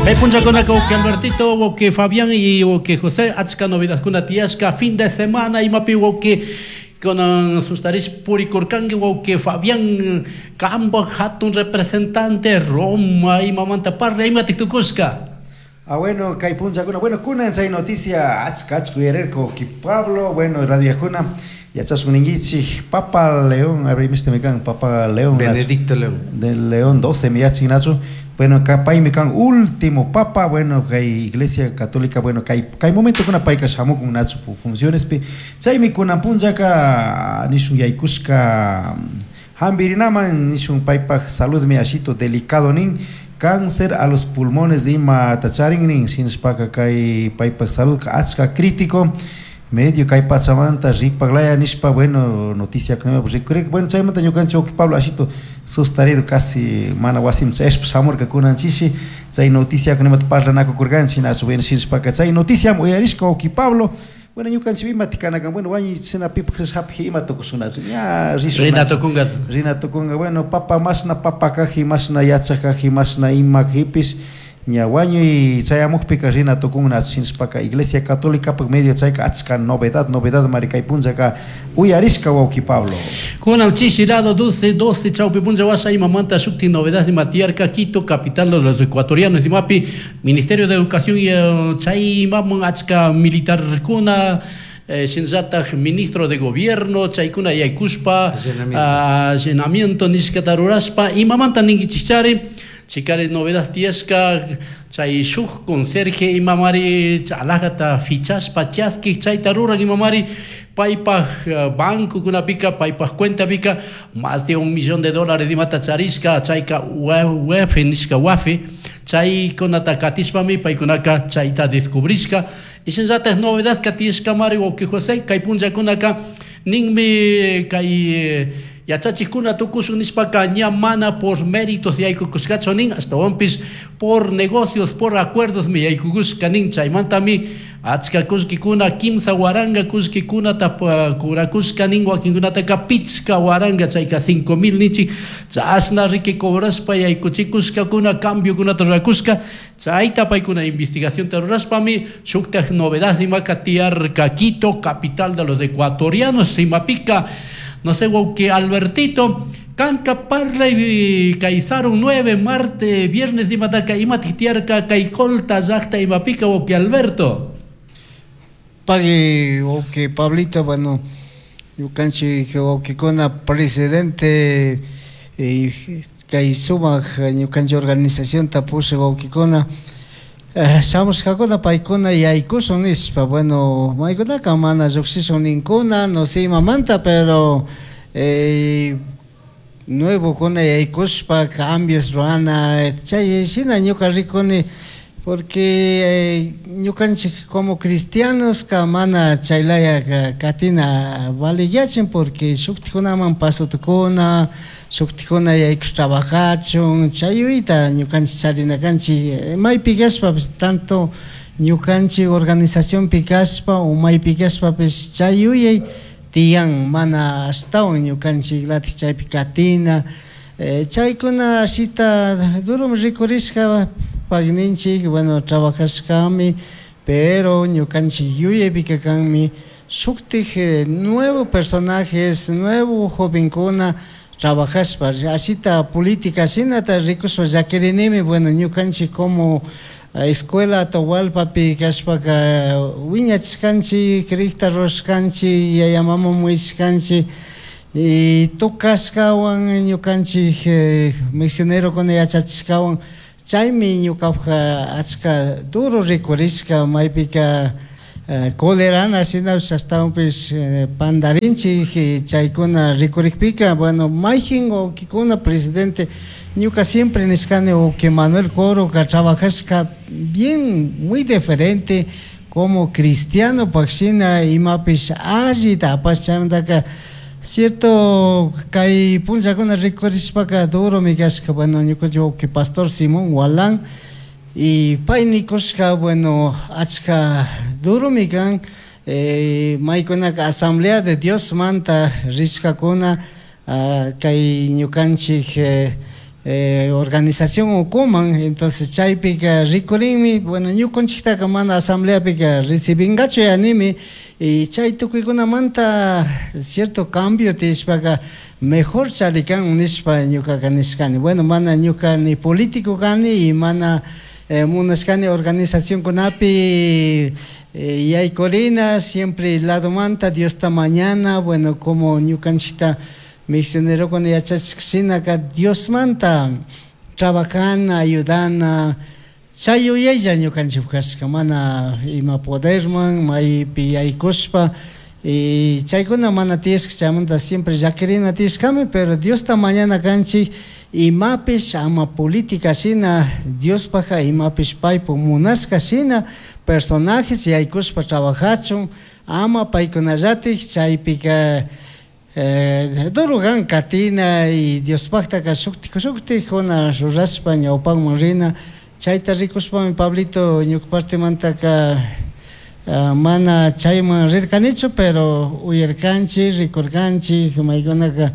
Kay punllakunaka wawqi Albertito, wawqi Fabián y wawqi José achka novedadkuna tiyashka fin de semana imapi wawqi kunan sustarish purikurkanki wawqi Fabián kambaj hatun representante Roma imamanta parla imatik tukushka. Ah, bueno, kay punllakuna, bueno, kunan chay noticia achka achka uyarirka wawqi Pablo, bueno, radiojuna yachashun ninkichik Papa León, a ver, imashta kan Papa León. Benedicto León. De León 12 mi yachin nachu. Bueno, paymi kan último papa, bueno, kay Iglesia Católica, bueno, kay kay momentokuna payka shamukun nachu funcionespi. Chaymi kunan punllaka nishun yaykushka hampirinaman nishun paypaj saludmi ashito delicado nin cáncer a los pulmones ima charin nin shinashpaka kay paypaj salud achka crítico medio kay pachamanta ripaglaya nishpa, bueno, noticia rikurirka. Bueno, chaymanta ñukanchik wawqi Pablo ashito sustarido casi mana wasiman chayashpa shamurka kunan chishi chay noticiakunamanta parlanakukurkanchik nachu. Bueno, shinashpaka chay noticiam uyarishka wawqi Pablo. Bueno, ñukanchik imati kanakan, bueno, wañuy shina pipaj hapiji ima tukushun ña rishun. Rina tukunga. Rina tukunga. Bueno, papa mashna papa kaji, mashna yachak kaji, mashna ima kajipish ña wañuy chayamukpika rina tukunna. Shinashpaka Iglesia Católica medio chayka achka novedad novedad mari kay punllaka uyarishka wawqi Pablo. Kunan chishi lado 12 12 chawpi punlla washa imamanta shukti novedad ima tiyarka Quito, capital de los ecuatorianos, imapi Ministerio de Educación y chay imaman achka militarkuna, shinallatak ministro de gobierno chaykuna yaykushpa allanamiento nishkata rurashpa imamanta ninkichikchari chikari novedad tiyashka chay shuk conserje imamari alajata fichashpa chaskik chayta rurak imamari paypaj bancokunapika paypaj cuentapika más de 1 millón de dólares imata charishka chayka UEF nishka wafe chaykunata katishpami paykunaka chayta descubrishka. Y shinallatak novedad katishkamari wawqi José kay punllakunaka ninmi kay yachachikuna tukushun nishpaka ña mana por méritos yaykukushkachu nin, ashtawanpish por negocios, por acuerdos mi yaykukushka nin. Chaymantami achka kullkikuna 3000 kullkikunata kurakushka nin, wakinkunataka 5000, chayka 5000 ninchik, chashna riki cobrashpa yaykuchikushkakuna cambiokunata rurakushka. Chayta paykuna investigacionta rurashpami shuktak novedad imaka tiyarka Quito, capital de los ecuatorianos, imapika. No sé, wawqi Albertito, kanka parlay kay sarun 9 marte viernes imataka imatik tiyarka kay Colta llakta imapika, wawqi Alberto. Pagui wawqi Pablito, bueno, ñukanchik wawqikuna presidente kay sumak ñukanchik organizacionta pushak wawqikuna shamushkakuna paykuna yaykushun nishpa. Bueno, maykunaka mana llukshishun ninkuna, no sé imamanta, pero nuevokuna yaykushpa cambios rurana chay shina ñuka rikuni, porque ñukanchik como cristianos ka mana chaylaya katina valiyachin, porque shuktikunaman pasota shuktikuna yaykush trabajachun chay yuyayta ñukanchik charina kanchik maypi kashpapish, tanto ñukanchik organizacionpi kashpa o maypi kashpapish chay yuyay tiyan, mana ashtawan ñukanchik latik chaypi katina. Chaykuna ashita durum rikurishka pagninchik. Bueno, trabajashkami, pero ñukanchik yuyaypika kanmi shuktik nuevo personajes, nuevo jovenkuna trabajashpa ashita política shinata rikushpa llakirinimi. Bueno, ñukanchik como escuela Atahualpapi kashpaka wiñachishkanchik, crikta rurashkanchik, yaya mama muishkanchik y tocashkawan ñukanchik misionerokuna yachachishkawan. Chaymi ñukapaka achka duro rikurishka maypika colerana shinapish ashtawanpish pandarinchik chaykuna rikurikpika. Bueno, mayjin wawkikuna presidente, ñuka siempre nishkani wawki Manuel Coroka trabajashka bien, muy diferente como cristiano shina imapish allita apash. Chaymantaka cierto kay punllakuna rikurishpaka duromi kashka. Bueno, ñukanchik wawki pastor Simón Walán y pay nikushka, bueno, achka duromi kan maykunaka Asamblea de Dios manta rishkakuna kay ñukanchik Organización ukuman, entonces chaypika rikurinmi, bueno, ñukanchiktaka mana asambleapika recibingachu yanimi, y chay tukuykunamanta cierto cambio tiyashpaka mejor charikan nishpa ñukaka nishkani. Bueno, mana ñuka ni político kani y mana munashkani organizacionkunapi yaykurina, siempre ladomanta Diosta mañana, bueno, como ñukanchikta misionerokuna yachachik shinaka Diosmanta trabajana, ayudana, chay yuyaylla ñukanchik kashka, mana ima poderman maypi yaykushpa, y chaykuna mana tiyashka, chaymanta siempre llakirina tiyashkami, pero Diosta mañana kanchik imapish ama política shina, Diospajka imapish paypuk munashka shina personajes yaykushpa trabajachun, ama paykunallatik chaypika duro kan katina y Diospajtaka shuktik shuktikkuna rurashpa ñawpakman rina, chayta rikushpami Pablito ñuka partemantaka mana chayman rirkanichu, pero uyarkanchik, rikurkanchik, maykunaka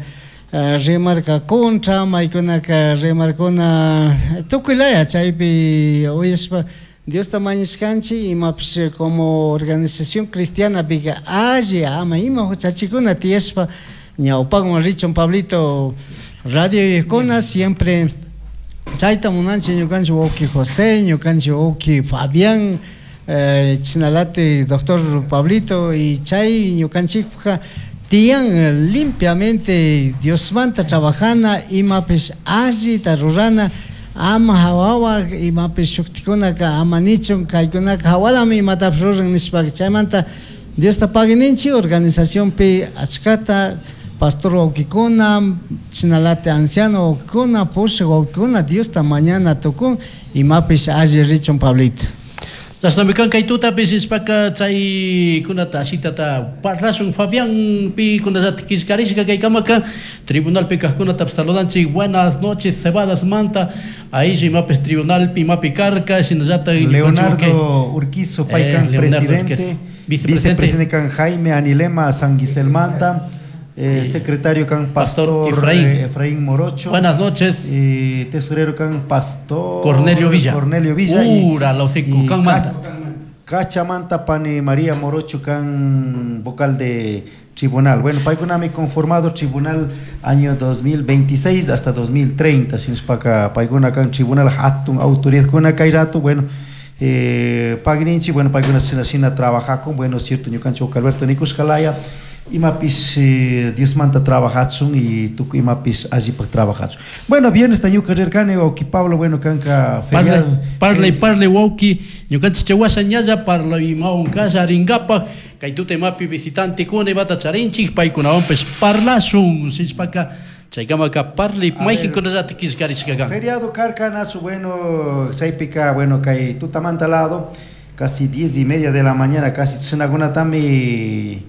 rimarka contra, maykunaka rimarkuna tukuy laya chaypi uyashpa Diosta mañashkanchik imapish como organización cristiana pika alli ama ima huchachikuna tiyashpa ñawpakman richun Pablito radio siempre chayta munanchik ñukanchik wawki José, ñukanchik wawki Fabián, chinalati doctor Pablito, y chay ñukanchikpajka tiyan limpiamente Diosmanta trabajana, imapish allita rurana, ama hawawa imapish shuktikunaka ama nichun kaykunaka hawalami imatapish ruran nishpaka chaymanta Diosta paguininchik organizacionpi achkata pastor wawkikuna, chinalati anciano wawkikuna, pushak wawkikuna Diosta mañana tukun imapish alli richun Pablito. Chashnami kan kay tutapish nishpaka chaykunata ashitata parlashun Fabián pi kunallata killkarishka kaykamaka tribunalpi kajkunatapish saludanchik. Buenas noches Cebadas manta ayllu imapish tribunalpi imapi karka shinallata. Leonardo Urquizo paykan presidente, vicepresidente kan Jaime Anilema Sanguiselmanta, secretario kan Pastor Efraín Morocho. Buenas noches. Tesorero kan Pastor Cornelio Villa. Cornelio Villa. Ura, la kan manta. Cachamanta Pani María Morocho kan vocal de tribunal. Bueno, paykunami conformado tribunal año 2026 hasta 2030. Sinspaka paykuna kan tribunal hatun autoridad kuna kay rato, bueno, pagninchi, bueno, paykuna sina trabaja con, bueno, cierto, ñukanchik Alberto Nikushkalaya, imapis Diosmanta trabajachun y tukuy imapis allipaj trabajachun. Bueno, viernes ñuka rirkani wawki Pablo, bueno, kanka feriado. Parlay, parlay wawki, ñukanchik chawasha ñalla parlay imawan kasha ringapaj, kay tuta imapi visitante kuna imata charinchik, paykunawanpish parlashun, shishpaka chaykamaka parlay mayqinkunallata killkarishka kan. Feriado karka nachu, bueno, chaypika, bueno, kay tutamanta lado, casi 10:30 de la mañana, casi chinakunatami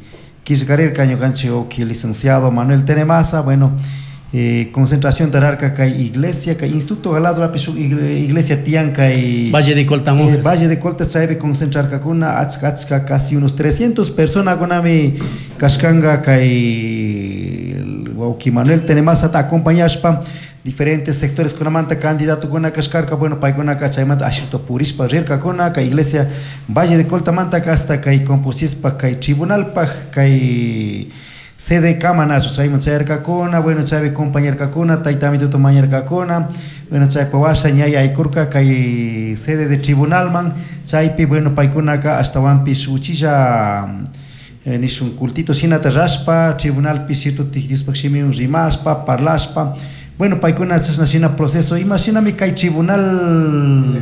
killkarirka ñukanchik wawki licenciado Manuel Tenemasa, bueno, concentración tararka kay iglesia, kay instituto galado lapi shuk iglesia tiyan kay Valle de Colta monjas. Valle de Colta chaypi concentrarkakuna achka achka casi unos 300 personas kunami kashkanga kay wawki Manuel Tenemasa ta acompañashpa diferentes sectores kunamanta candidato kuna kashkarka, bueno, paykunaka chaymanta ashito purishpa rirkakuna kay iglesia Valle de Coltamanta hasta kay Composispa kay tribunalpaj kay sede kamanachu chayman chayarkakuna, bueno, chaypi compañarkakuna, taytamituta mañarkakuna, bueno, chaypa washa ñay aykurka kay sede de tribunalman, chaypi, bueno, paykunaka ashtawanpish uchilla nishun cultito shinata rashpa, tribunalpi cierto Diospaj shimiwan rimashpa, parlashpa, bueno, paykuna chashna shina proceso, ima shinami kay tribunal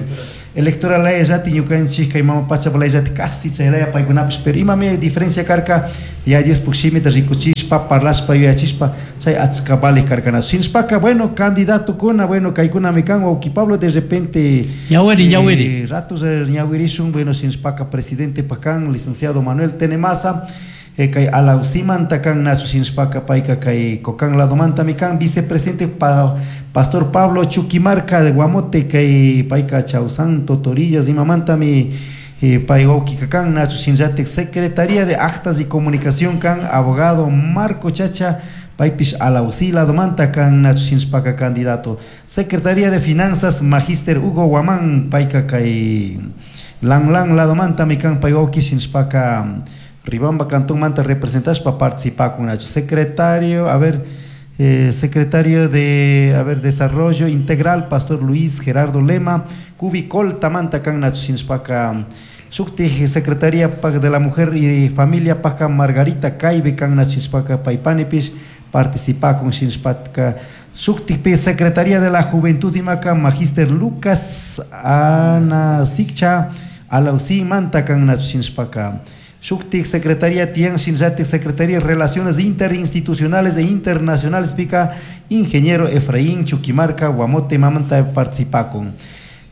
electoral layallati ñukanchik kay mama pachapa layallati casi chaylaya paykunapish, pero imami diferencia karka, ya Diospaj shimita rikuchishpa, parlashpa, yuyachishpa, chay achka vale karkanachu. Shinashpaka, bueno, candidato kuna, bueno, kaykunami kan, wawki Pablo, de repente Ñawiri, ñawiri. Ratos ñawirishun, bueno, shinashpaka presidente pakan, licenciado Manuel Tenemasa, kay Alausimanta kan nachu shinashpaka payka kay Cocán ladomantami kan, vicepresidente Pastor Pablo Chuquimarca de Guamote, kay payka Chausán Totorillas imamantami Pay wawkika kan nachu shinallatik Secretaría de Actas y Comunicación kan abogado Marco Chacha, paypish Alausí ladomanta kan nachu shinashpaka candidato. Secretaría de Finanzas Magíster Hugo Guamán, payka kay Lan Lan ladomantami kan pay wawki shinashpaka Ribamba cantonmanta representashpa participakun nachu. Secretario, a ver, secretario de, a ver, Desarrollo Integral, Pastor Luis Gerardo Lema, Cubicolta manta kan nachu shinashpaka. Shuktik Secretaría de la Mujer y Familia paka Margarita Caibe kan nachu shinashpaka paypanipish participakun shinashpaka. Shuktikpi Secretaría de la Juventud imaka Magíster Lucas Ana Sikcha Alausí manta kan nachu shinashpaka. Shuktik Secretaría tiyan shinallatik Secretaría de Relaciones Interinstitucionales e Internacionales pika Ingeniero Efraín Chuquimarca Guamote mamanta participakun.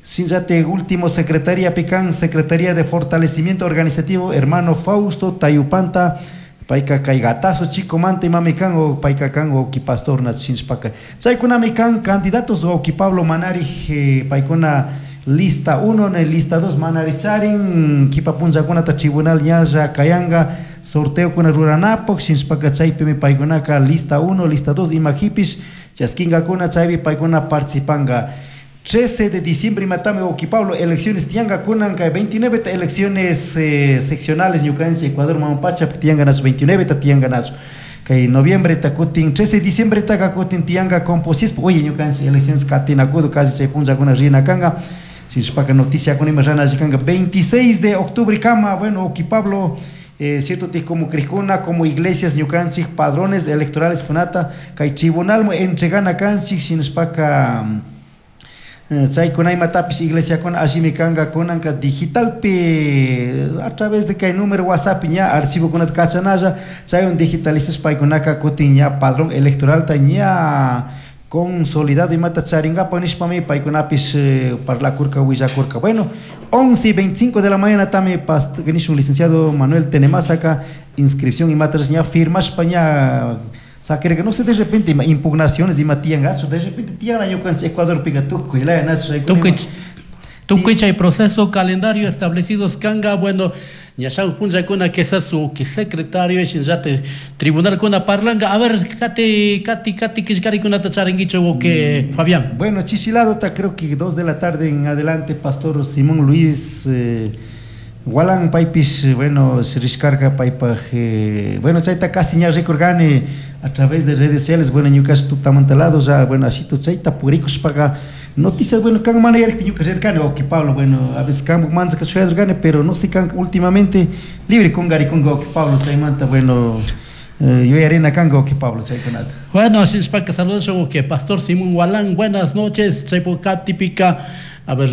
Shinallatik último Secretaría pikan Secretaría de Fortalecimiento Organizativo hermano Fausto Tayupanta payka kay gatazo chico manta imami kan o payka kan o pastor na shinashpaka. Chaykunami kan candidatos o Pablo Manari paykuna lista 1 na lista 2 manari charin kipa punllakunata tribunal ñalla kayanga sorteo kuna ruranapuk shinashpaka chaypimi paykunaka lista 1 lista 2 imajipish chaskinkakuna chaypi paykuna participanga. 13 de diciembre matame oki Pablo elecciones tianga kunan kay 29 ta elecciones seccionales ñukanchik Ecuador mamapacha tianga nachu 29 ta tianga nachu kay noviembre ta kutin 13 de diciembre ta kutin tianga composis oye ñukanchik elecciones katinakudu casi chay punllakuna rina kanga sinshpaka noticia kunima rana kanga 26 de octubre kama bueno oki Pablo cierto ti como cricuna como iglesias ñukanchik padrones electorales kunata kay tribunal mo entregana kanchik sinshpaka chaykuna imatapish iglesiakuna allimi kanka kunanka digitalpi a través de kay número WhatsApp ña archivokunata kachanalla chaywan digitalizashpa paykunaka kutin ña padrón electoralta ña consolidado imata charinkapak nishpami paykunapish parlakurka willakurka. Bueno, 11:25 de la mañana tami nishun licenciado Manuel Tenemazaka inscripción imata ña firmashpa ña saquer no sé de repente ima impugnaciones ima tiyan gacho de repente tiyan ñukanchik Ecuador pika tukuy laya nacho tukuy chay proceso calendario establecidos kanga bueno ñashaw punllakuna quizás su que secretario shinllate tribunal kuna parlanga a ver kati kati kati killkarikunata charinkichu o que Fabián. Bueno, chichilado ta creo que 2 de la tarde en adelante Pastor Simón Luis Walan paypish bueno rishkarka paypaj bueno chayta casi ña rikurkani a través de redes sociales bueno ñukash tutamantalado ya bueno ashito chayta purikushpaka noticias bueno kan mana yarikpi ñuka rirkani oki Pablo bueno a veces kan manzaka shuyarkani pero no sé kan últimamente libre kungarikunga oki Pablo chaymanta bueno yuyarina kanka oki Pablo chaykunata. Bueno, shinashpaka saludos que Pastor Simón Walán, buenas noches, chaypuka típica. A ver,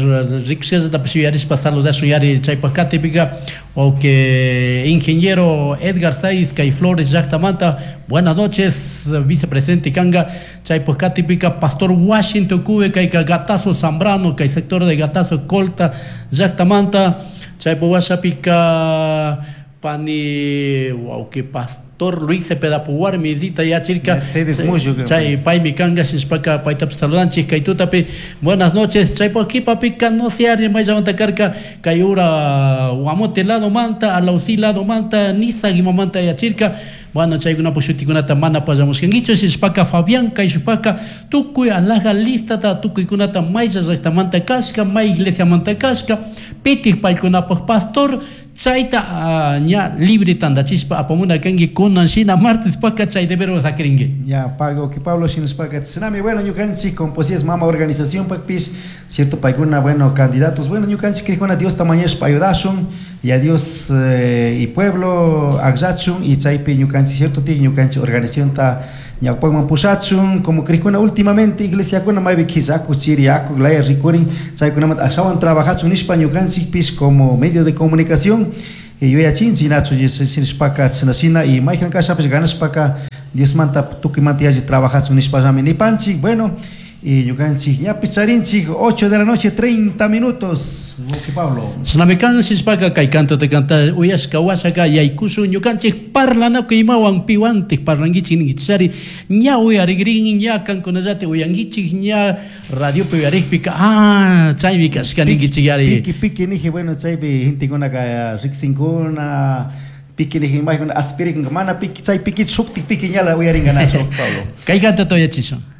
rikushkallatapish yuyarishpa saludashun yari chaypaka típica o que ingeniero Edgar Saiz kay Flores llaktamanta, buenas noches, vicepresidente kanga chaypaka típica Pastor Washington Cube kayka Gatazo Zambrano kay sector de Gatazo Colta llaktamanta chaypu washapika pani que Pastor Luis Cepeda Puwarmi zita yachirka Mercedes Muyo chay paymi kanga shinashpaka paytapish saludanchik kay tutapi buenas noches chaypu kipapika no se ari mayllamanta karka kay ura Guamote lado manta Alausí lado manta Nisa imamanta yachirka bueno chaykunapak shutikunata mana pallamushkankichu shinashpaka Fabián kayshupaka tukuy alaja listata tukuykunata maylla llaktamanta kashka may iglesiamanta kashka pitik paykunapak pastor chayta ña libre tandachishpa apamuna kanki kunan shina martes paka chay debero sakirinki. Ya pago que Pablo shinashpaka tsunami bueno ñukanchik composies mama organización pakpish cierto paykuna bueno candidatos bueno ñukanchik krikuna Dios tamañashpa ayudashun y a Dios y pueblo akllachun y chaypi ñukanchik cierto ti ñukanchik organización ta ñawpakman pushachun como krikuna últimamente iglesiakuna maypi killaku chiriyaku laya rikurin chaykunamanta ashawan trabajachun nishpa ñukanchikpish como medio de comunicación yuyachinchik nachu shinashpaka chashnashina y mayjan kashapish ganashpaka Diosmanta tukuymanta yalli trabajachun nishpallami nipanchik. Bueno, Y ñukanchik ñapish charinchik 8 de la noche 30 minutos, Wauki Pablo. Shinami kan shishpaka kay cantota canta uyashka washaka yaykushun ñukanchik parlanakuy imawan piwantik parlanguichik ninkichari ña uyarigrin ña kankunallati uyanguichik ña radiopi uyarikpika ah chaymi kashka ninkichik yari. Piki piki niji, bueno, chaypi gentekunaka riksinkuna, piki niji imaykuna aspirikunka, mana piki chay piki shuktik piki ñala uyarinka nachu, Pablo. Kay cantota uyachishun.